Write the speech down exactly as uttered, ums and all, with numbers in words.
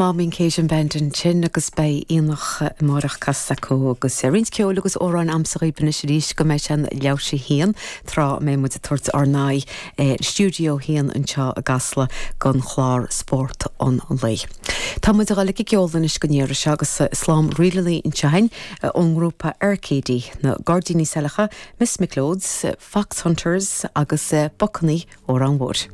Maumeen Cajun Band ansin agus beidh aonach amárach casta acu agus roinnt ceoil agus amhráin agamsa anois arís go mbeidh sé leathuair tar éis a haon tráth a mbeidh muid ag tabhairt ár n-aghaidh stiúideo haon anseo i gCasla don chlár spórt an lae. Tá muid ag dul ag ceol anois go néire seo agus slám ríleanna anseo ón ngrúpa Arcady na Gairdíní Saileacha, Miss McLeod's, Fox Hunters agus Bucannaí ó Ranmhór.